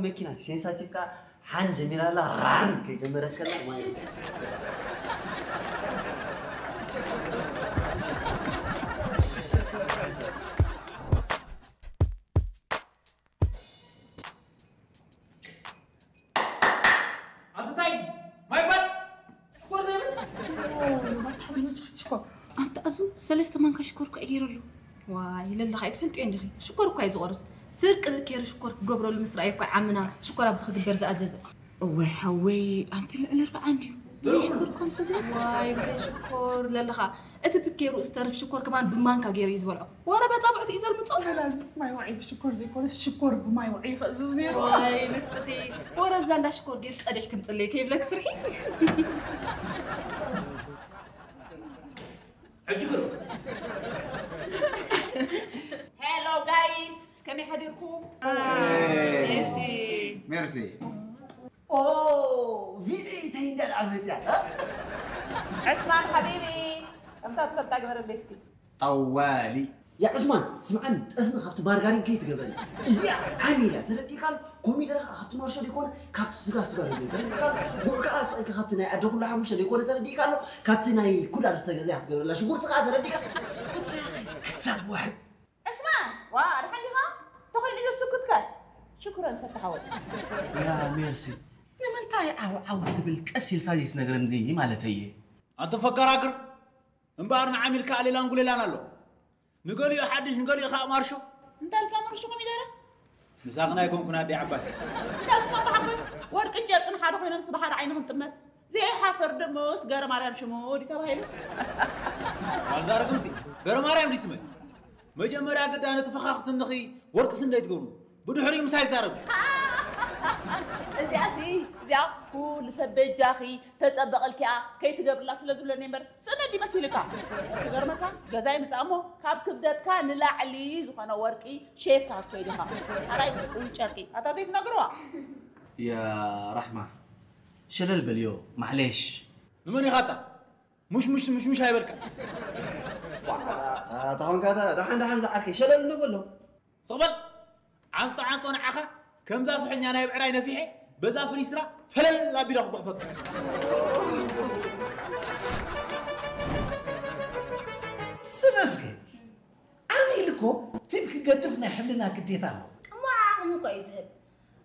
መኪና ሴንሳቲቭ ከኣ ሓን ጀሚራ ኣላ። ራን ከይጀመረት ከላ ማለት እዩ። ኣንተ እንታይ እዚ? ማይ ባል ሽኮር ዘይብል? ኦ፣ ባታ ሓብል መጫወቲ ሽኮር። ኣንተ ኣዙ ሰለስተ ማንካ ሽኮር እኮ እየ ገይረሉ። ዋይ፣ ለለኻ ኣይትፈልጥዮ እንዲኺ። ሽኮር እኳ እዩ ዝቆርስ። ፍርቂ በኬሪ ሽኮር ክገብረሉ ምስ ረኣየ እኳ ዓምና ሽኮር ኣብዚ ክግበር ዝኣዘዘ። እዋይ ሓወይ፣ ኣንቲ ልዕሊ ኣርብዓ እንድዩ። ብዘይ ሽኮር እኳ ምስ ኣዘዘ። ዋይ፣ ብዘይ ሽኮር ለለኻ። እቲ ብኬሩ ዝተርፍ ሽኮር ከማን ብማንካ ገይሩ እዩ ዝበልዖ። ወረ በጻብዕቱ እዩ ዘልምጾ። ወላ እዚስ ማይ ዋዒ ብሽኮር ዘይኮነስ ሽኮር ብማይ ዋዒ ይኸእዝዝ ነይሩ። ዋይ፣ ንስኺ። ወረ ብዛ እንዳ ሽኮር ጌር ቀዲሕ ክምጽለይ ከይብለክ ፍርሒ። ሕጂ ግሩ። ሄሎ ጋይስ፣ ከመይ ሓዲርኩም? ሜርሲ። ሜርሲ። ኦ፣ ቪድዮ እንታይ እንዳልዓ መጽያ፣ እ? ዕስማን ሓቢቢ፣ ከምታ ትፈልጣ ግበረለይ እስኪ። ጠዋሊ። ያ ዕስማን፣ ስምዓኒ፣ ጠስሚ ካብቲ ማርጋሪን ከይትገብረኒ። እዚኣ ዓሚ ኢላ፣ ተረዲእካ ኣሎ? ኮሚደረ ከኣ ካብቲ ማርሾ ደይኮነ፣ ካብቲ ስጋ ስጋ ደይኮነ፣ ተረዲእካ ኣሎ? ጉዕ ከኣ ስቕ ኢልካ ካብቲ ናይ ኣደ ኩሉ ሓሙሽተ ደይኮነ፣ ተረዲእካ ኣሎ? ካብቲ ናይ ኩዳር ዝተገዘ ክትገብረላ። ሽጉርቲ ከኣ ተረዲእካ፣ ስኩት ኢኻ፣ ክሳብ ዋሕድ። ዕስማን፣ ዋ፣ ደሓን ዲኻ? ተኾይኑ እዩ ስኩትከ? ሽኩረን ሰተ ሓወይ። ያ ሜርሲ፣ ንምንታይ ዓው ዓው ትብል ቀስ ኢልካ ዘይትነግረኒ ማለተይ እየ። ኣንተ ፈጋራግር፣ እምበኣር ንዓሚልካ ኣሌላን ጉሌላን ኣሎ። ንገሊኡ ሓድሽ፣ ንገሊኡ ከኣ ማርሾ። እንታይ ኢልካ ማርሾ ኮሚደረ? ምሳኽን ኣይኮንኩን ኣደይ ዓባይ። እንታይ ኢልካ ኣባ ሓጎይ? ወርቅን ጨርቅን ሓደ ኮይኖም ስብሓት ዓይንኽን ጥመት። ዘይሓፈር ደሞስ ገረ ማርያም ሽሙ ድዩ ተባሂሉ? ዋልዛ ርግምቲ፣ ገረ ማርያም ድዩ ስመይ? መጀመርያ ግዳ ነቲ ፈኻኽ ስንኺ ወርቂ ስንደይ ትገብሩ። ብድሕሪኡ ምሳይ ይዛረቡ። እዚኣሲ፣ እዚኣ ኩሉ ሰብ በጃኺ ተጸበቐልኪ እያ፣ ከይትገብርላ ስለ ዝብለኒ እምበር፣ ስእነት ድዩ መሲልካ? ክገርመካ፣ ገዛይ ምጻእ እሞ፣ ካብ ክብደትካ ንላዕሊ ዝኾነ ወርቂ ሼፍካ ክትከይድ ኢኻ። ኣራይ ጥውይ ጨርቂ፣ ኣታ ዘይትነግርዋ? ያ ራሕማ፣ ሸለል በልዮ፣ ማዕሌሽ። ንመን ኢኻ ኣታ? ሙሽ፣ ሙሽ፣ ሙሽ፣ ሙሽ ኣይበልካ። ዋ፣ ኣታ፣ ኣታ ኾንካ፣ ኣታ፣ ደሓን፣ ደሓን ዝዓርከይ፣ ሸለል ንበሎ። ስቕ በል! ዓንጾ ዓንጾ ንዓኻ ከምዛ ፍሕኛ ናይ ብዕራይ ነፊሐ በዛ ፍኒስትራ ፈለል ኣቢለ ክጉሕፈካ። ስለ እስኪ ዓሚል እኮ ቲብ ክገድፍ ናይ ሕልና ግዴታ ኣለዎ። እሞ ዓቕሙ እኮ እዩ ዝህብ።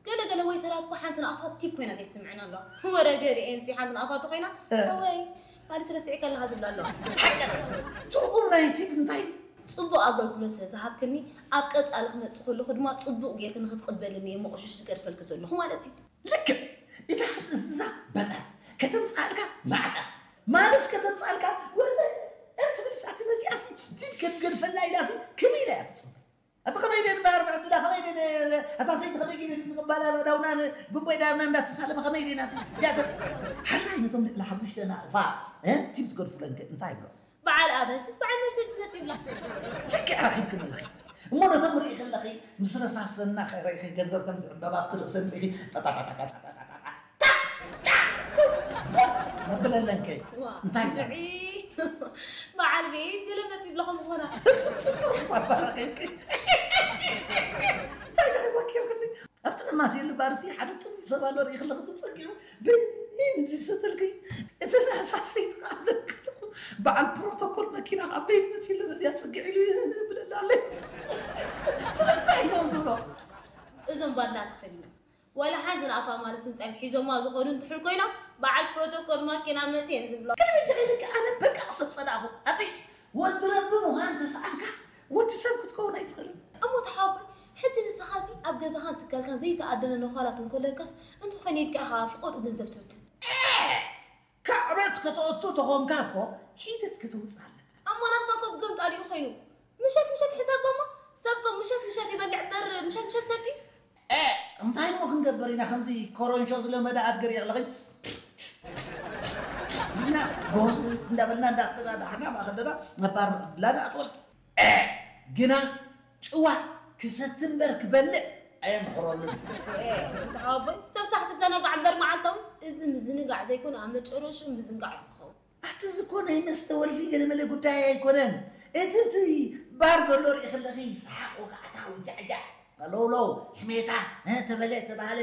ገለ ገለ ወይተራት እኮ ሓንቲ ንኣፋት ቲብ ኮይና ዘይስምዕና ኣለዋ። ወረ ገሊኤንሲ ሓንቲ ንኣፋት ኮይና፣ እ። ሓወይ፣ ማለት ረሲዕካ ኣለኻ ዝብላ ኣለዋ። ሓቂ ትርጉም ናይ ቲብ እንታይ እዩ? ጽቡቕ ኣገልግሎት ስለ ዝሃብክኒ፣ ኣብ ቀጻሊ ክመጽእ ከለኹ ድማ ጽቡቕ ጌርኪ ንኽትቕበልኒ እየ መቑሽሽ ዝገድፈልኪ ዘለኹ ማለት እዩ። ልክዕ። እታ ክትእዝዛ በጠር፣ ከተምጽኣልካ ማዕጠር፣ ማልስ ከተምጽኣልካ ወጠር ትብል ሳቲ መሲኣሲ፣ ቲብ ከትገድፈላ ኢላሲ ከመይ ኢላ እያ ትጽበ? ኣቲ ከመይ ኢለ ንባር ምዕድላ፣ ከመይ ኢለ ን-፣ ኣሳሰይቲ ከመይ ኢለ ንዝቕባላ ዳውና ን-፣ ጉንቦይ ዳርና እንዳተሳለመ ከመይ ኢለ ናቲ እዚኣተ ሓራይ ነቶም ልዕሊ ሓሙሽተ ናቕፋ፣ እ፣ ቲብ ዝገድፉለን ከ እንታይ ይብሎ? በዓል ኣበንስስ በዓል መርሴድስ መጺኡ ይብላ። ልክዕ ረኺብክኒ ኣለኺ። እሞ ነቶም ርኢ ከለኺ ምስ ረሳሰና ከ-፣ ርኢኺ ገንዘብ ከም ዝዕበባ ኣብቲ ርእሰን ርኢኺ ጠጣጣጣጣጣጣጣጣ ታ-፣ ታ-፣ ቱ-፣ ቡን መበለለን ከ ዋ፣ እንታይ ይብላ? ብዒ-፣ በዓል ቤት ገለ መጺኡ ይብላ ከም ዝኾና። ስስስቶ ክሳብ ረኺብኪ። እንታይ ዲኺ ዘኪርክኒ? ኣብቲ ነማስየሉ ባርሲ ሓደ ጥም ሰብ ኣሎ ርኢ ከለኺ ተጸጊዑ በይን ዝሰተልኪ። እቲ ናሳሰይቲ ከኣ ኣለክልኹ። በዓል ፕሮቶኮል መኪና ኣብ በይን መጺኡ ኣሎ በዚኣ ጽግዕ ኢሉ ብለላ ኣለይ። ስለምንታይ እዮም ዝብሎ? እዞም ባላ ተኸዲኖም። ዋላ ሓንቲ ንኣፋ ማለስ ምጻዮም ሒዞማ ዝኾኑ እንትሕል ኮይኖም፣ በዓል ፕሮቶኮል ማኪና መጽየን ዝብሎ። ግን በጃ ኢልኪ ኣነ በቃ ክሰብ ጸላእኹ። ኣቲ ወዲ ረቢ ምዃን ተሰኣንካስ ወዲ ሰብ ክትከውን ኣይትኽእልን። እሞ ተሓቦይ፣ ሕጂ ንስኻሲ ኣብ ገዛኻን ትካልካን ዘይተኣደነ ነዃላት እንኮለካስ እንተኾነ ኢልካ ኢኻ ፍቖድኡ ገንዘብ ትብትን። ካዕበት ከተእቱ ተኾንካ እኮ ሒደት ከተውፅእ ኣለካ። እሞ ናትካ እኮ ብገምጣሊኡ ኮይኑ። ምሸት ምሸት ሕሳብ እሞ ሰብ እኮ ምሸት ምሸት ይበልዕ እምበር ምሸት ምሸት ሰቲ። እ፣ እንታይ እሞ ክንገብር ኢና? ከምዚ ኮረንሾ ዝለመደ ኣድገር የቕለኸኝ። ኢና ጎስስ እንዳበልና እንዳተዳዳሕና ማእኸል ደና ነባር ላና ኣትወልቂ። እ፣ ግና ጭዋ ክሰቲ እምበር ክበልዕ ኣየምሕረሉን። እ፣ እንተ ሓወቦይ፣ ሰብ ሳሕ ትዘናጋዕ እምበር መዓልታዊ፣ እዚ ምዝንጋዕ ዘይኮነ ኣብ መጨረሽኡ ምዝንጋዕ እዩ ክኸውን። ኣቲ እዚ እኮ ናይ መስተ ወልፊ ገለመለ ጉዳይ ኣይኮነን። እቲ እቲ ባር ዘሎ ርኢ ከለኺ ሰሓቕ ወጋዕታ ውጃዕጃዕ፣ ቀለውለው፣ ሕሜታ፣ እ፣ ተበለ ተባህለ